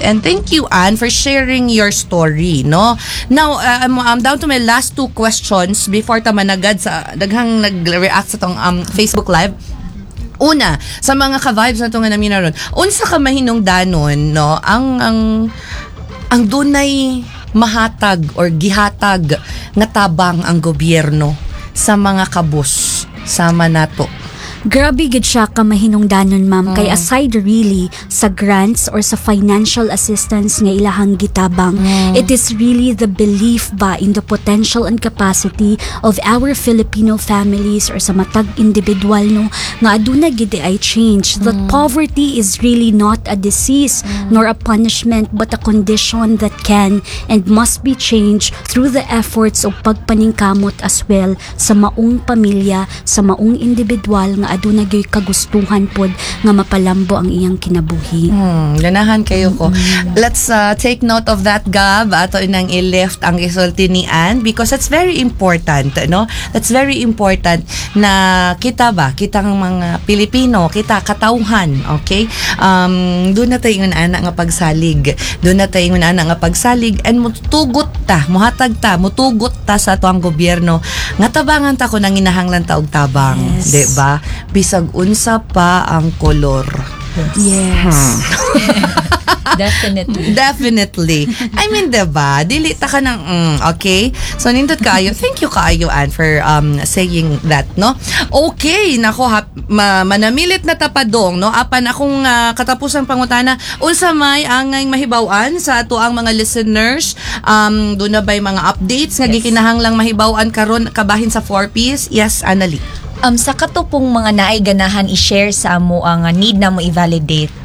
And thank you, Anne, for sharing your story, no? Now, I'm down to my last two questions before ta managad sa daghang nag-react sa atong Facebook Live. Una, sa mga ka-vibes na ito nga namin naron, unsa ka mahinungdanon, no, ang dunay mahatag or gihatag nga tabang ang gobyerno sa mga kabus sama nato? Grabe gid siya ka mahinungdanon, ma'am, kay aside really sa grants or sa financial assistance nga ilahang gitabang, it is really the belief ba in the potential and capacity of our Filipino families or sa matag individual, no, nga aduna gid ay change, that poverty is really not a disease nor a punishment but a condition that can and must be changed through the efforts of pagpaningkamot as well sa maong pamilya, sa maong individual nga aduna gyud kagustuhan pod nga mapalambo ang iyang kinabuhi. Ganahan kayo ko. Let's take note of that, Gab. Ato inang i-lift ang gisulti ni Anne because that's very important, no? That's very important na kita ba, kitang mga Pilipino, kita katawhan, okay? Duna tay ingon ana nga pagsalig. Duna tay ingon ana nga pagsalig and mutugot ta, muhatag ta, mutugot ta sa ato ang gobyerno nga tabangan ta kung nanginahanglan ta og tabang, di ba? Bisag unsa pa ang kolor. Definitely. Definitely. I mean, diba? Dili ta ka ng, okay? So, nindot kaayo. Thank you kaayo, Ann, for saying that, no? Okay, nako, manamilit na tapadong, no? Apan akong katapusang pangutana, unsa may angay mahibaw-an sa ato ang mga listeners? Duna ba'y mga updates nga gikinahanglang mahibaw-an karon kabahin sa 4Ps? Yes, Annalie. Sa kato pong mga naay ganahan i-share sa amo ang need na mo i-validate,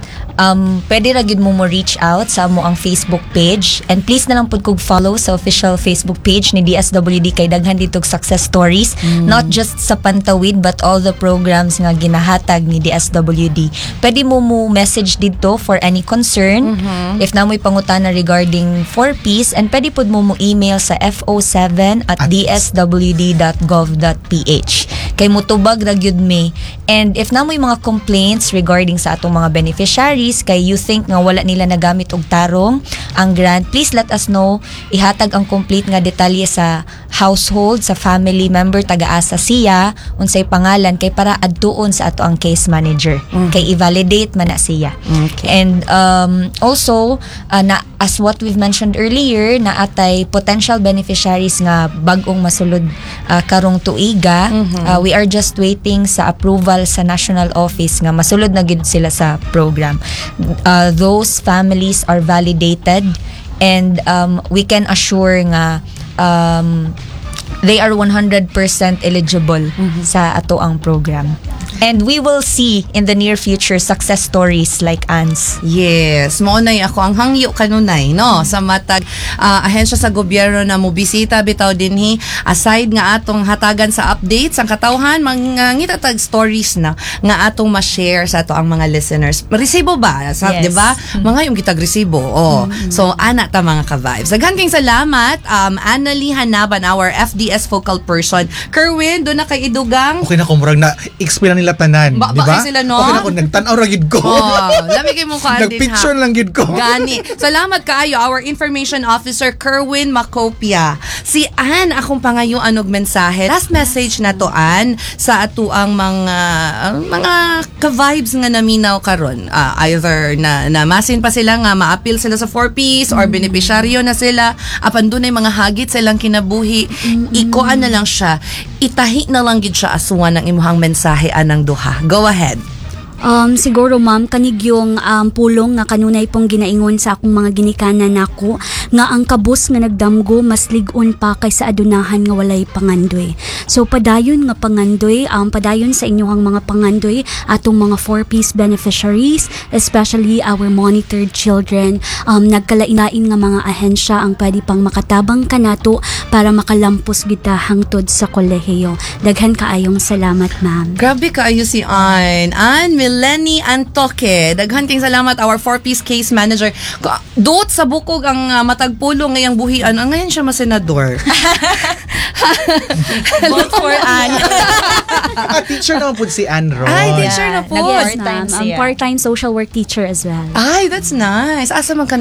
pwede ra gyud mo reach out sa amo ang Facebook page, and please na lang pud kog follow sa official Facebook page ni DSWD kay daghan dito og success stories, not just sa Pantawid but all the programs nga ginahatag ni DSWD. Pwede mo message dito for any concern if na mo'y pangutana regarding 4Ps, and pwede pud mo email sa fo7@dswd.gov.ph kay mutubag ra gyud mi. And if na mo'y mga complaints regarding sa atong mga beneficiaries kay you think nga wala nila nagamit og tarong ang grant, please let us know. Ihatag ang complete nga detalye sa household, sa family member, taga-asa siya, unsay pangalan, kay para adtuon sa ato ang case manager kay i-validate man na siya. And also na as what we've mentioned earlier, na atay potential beneficiaries nga bag-ong masulod karong tuiga. We are just waiting sa approval sa national office nga masulod na gid sila sa program. Those families are validated and we can assure nga they are 100% eligible sa ato ang program. And we will see in the near future success stories like Anne's. Yes, mao nay ako ang hangyo kanunay, no, sa matag ahensya sa gobyerno na mobisita bitaw dinhi, aside nga atong hatagan sa updates ang katawhan, mangita tag stories na nga atong ma-share sa ato ang mga listeners. Resibo ba? Sa, Yes. di ba? Mga yung kitag resibo. Oh. So ana ta, mga ka-vibes. Daghan kayong salamat, Annalie Hanaban, our FDS focal person. Kerwin, duna kay idugang? Okay na ko, murag na explain na nila tanan, Ba- di ba ba? kay sila, no? Okay na ko, nagtan-aw ra gid ko. Oh, lami kay mo kuan din ha. Nagpicture lang gid ko. Gani. Salamat kaayo, our information officer Kerwin Macopia. Si Ann, akong pangayuan og mensahe. Last message na to, Ann, sa atuang mga ka-vibes nga naminaw karon. Either na namasin pa sila nga maapil sila sa 4Ps or benepisyaryo na sila apan dunay mga hagit sa ilang kinabuhi. Ikuan na lang siya. Itahi na lang gid siya asuan ang imuhang mensahe anang duha. Go ahead. Siguro, ma'am, kanig yung pulong nga kanunay pong ginaingon sa akong mga ginikanan nako nga ang kabus nga nagdamgo mas lig-on pa kaysa adunahan nga walay pangandoy. So padayon nga pangandoy, padayon sa inyong mga pangandoy atong mga 4Ps beneficiaries, especially our monitored children. Nagkalain-lain nga mga ahensya ang pwede pang makatabang kanato para makalampos kita hangtod sa kolehiyo. Daghan kaayong salamat, ma'am. Grabe kaayo si Ann. Ann Mileni Antoque. Daghan kayong salamat, our 4Ps case manager. Duot sa bukog ang matag pulong ngayang buhian. Ang ngayon siya masenador. Vote for Anne. Ah, teacher naman po si Ann Ron. Ay, teacher na po. Nag-part-time Ma'am, I'm siya. part-time social work teacher as well. Ay, that's nice. Asa man ka